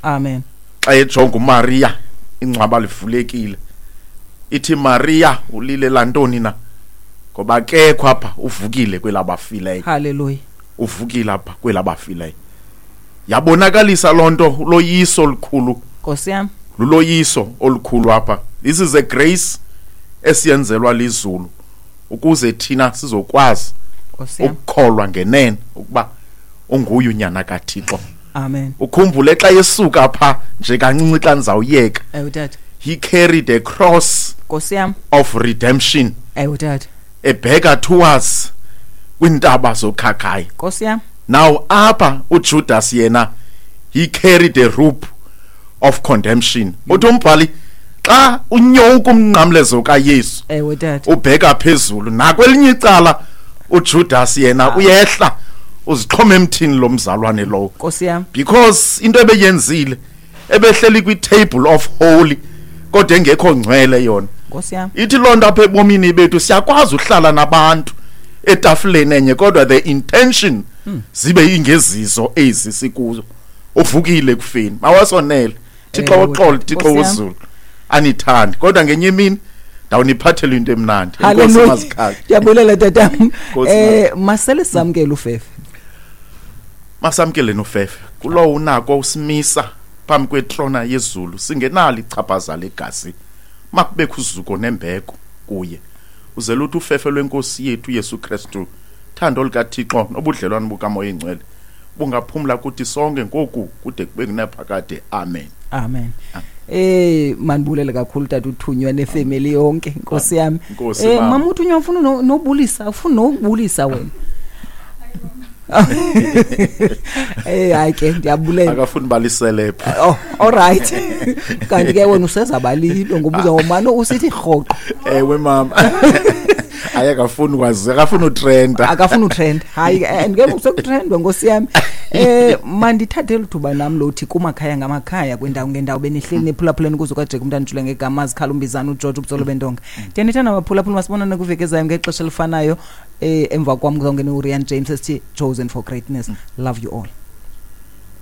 Amen. Xa ejonga uMaria, ingcwaba livulekile. Ithi Maria ulile lantoni na? Ngoba akekho apha, uvukile kwelabafileyo. Hallelujah. Uvukile apha kwelabafileyo. Yabonakalisa loo nto uloyiso olukhulu. Nkosi yam. Luloyiso olukhulu apha. This is a grace esiyenzelwa lizulu ukuze thina sizokwazi ukukholwa ngenene ukuba unguye unyana kaThixo. Amen. Ukhumbule xa esuka pha nje kancinci xa ndizawuyeka. Ewe tata. He carried a cross. Nkosi yam. Of redemption. Ewe tata. Ebheka towards kwintaba zokhakhayi. Nkosi yam. Now apha uJudas yena he carried a rope of condemnation. Uthi umbhali xa unyowuka umnqamlezo kaYesu. Ewe tata. Ubheka phezulu nakwelinye icala uJudas yena uyehla uzixhoma emthini lo mzalwane lowo. Nkosi yam. Because into ebeyenzile ebehleli kwi-table of holy kodwa engekho ngcwele yona. Nkosi yam. Ithi loo nto apha ebomini bethu siyakwazi uhlala nabantu etafileni enye kodwa the intention zibe ingezizo ezi sikuzo. Uvukile ekufeni. Mawasonele. Thixo woxolo, Thixo wozulu. Anithandi kodwa ngenye imini ndawuniphathela into emnandi. Enkosi mazikhali. Ndiyabulela tatam. Masele samkele ufefe. Masamkele nofefe. Kulowo unako usimisa phambi kwetrona yezulu singenalo ichaphaza legazi. Makubekho uzuko nembeko kuye. Uzele uthi ufefe lwenkosi yethu Yesu Kristu, thando likaThixo nobudlelwane bukaMoya Oyingcwele bungaphumla kuthi sonke ngoku kude kube kunaphakade. Amen. Amen. Mandibulele kakhulu tata uThunywa nefamily yonke, Nkosi yami. Mama uThunywa ufuna nobulisa, ufuna nokubulisa wena. Hayi ke ndiyabulela. Akafuni balisele phi. Oh, all right. Kanti ke wena usezabalilo ngoba uzawumane usithi rhoqo. Ewe mama. Hayi akafuni kwazi, akafuni utrenda. Akafuni utrend. Hayi and ke usekutrendwa Nkosi yami. Mandithathe elithuba nam lothi kumakhaya ngamakhaya kwindawo ngendawo benihleli nephulaphuleni kuzo kaJeke umntana ujule ngegama azikhala umbizana uGeorge ubutsolo bentonga. Ndiyanithanda baphulaphula, masibonane kwiveki ezayo ngexesha elifanayo. Emva kwam kuzawungena uRian James esithi Chosen for Greatness. Love you all.